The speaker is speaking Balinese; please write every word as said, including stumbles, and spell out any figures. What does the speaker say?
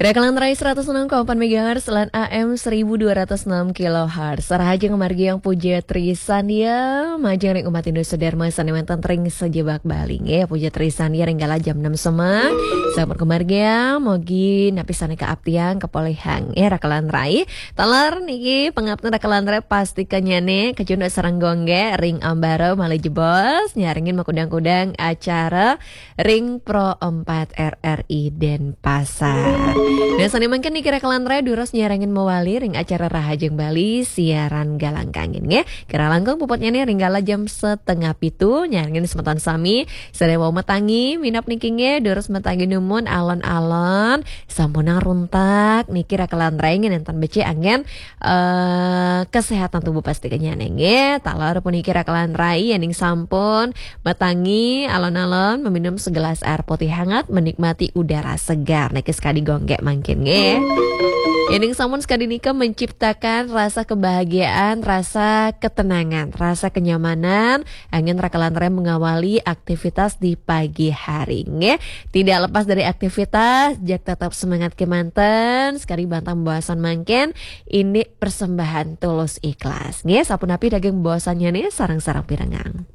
Rakalan Rai seratus enam koma empat megahertz lan A M seribu dua ratus enam kilohertz. Sarahajeng margi yang puja Trisandya, majeng ring umat Hindu sedherma sané wénten ring sajebag Bali nggih. Puja Trisandya ring kala jam enam semak. Sampun kamargiang, mugi napi sané kaaptiang kapolihang nggih Rakalan Rai. Taler niki pangapten Rakalan Rai pastikannyané kacunduk sareng Gung Gék ring ambara malih jebos nyarengin makudang-kudang acara ring Pro empat R R I Denpasar. Nah, sané mangkin niki Rakalan Rai durus nyarengin mawali ring acara Rahajeng Bali siaran Galang Kangin nggih. Kirang langkung puputnyané ring kala jam setengah pitu nyarengin semeton sami sané wau matangi minab niki nggih, durus matangi dumun alon-alon sampunang runtak niki Rakalan Rai nggih nénten becik anggén eh, kesehatan tubuh pastikannyané nggih. Taler puniki Rakalan Rai yéning sampun matangi alon-alon meminum segelas air putih hangat, menikmati udara segar. Niki sakadi Gung Gék mangkin nggih. Yéning sampun sakadi nika menciptakan rasa kebahagiaan, rasa ketenangan, rasa kenyamanan, anggén Rakalan Rai mengawali aktivitas di pagi hari nggih. Tidak lepas dari aktivitas, jag tetap semangat kémanten, sakadi bantang baosan mangkin, indik persembahan tulus ikhlas. Nggih, sapunapi daging baosannyané sareng-sareng pirengang.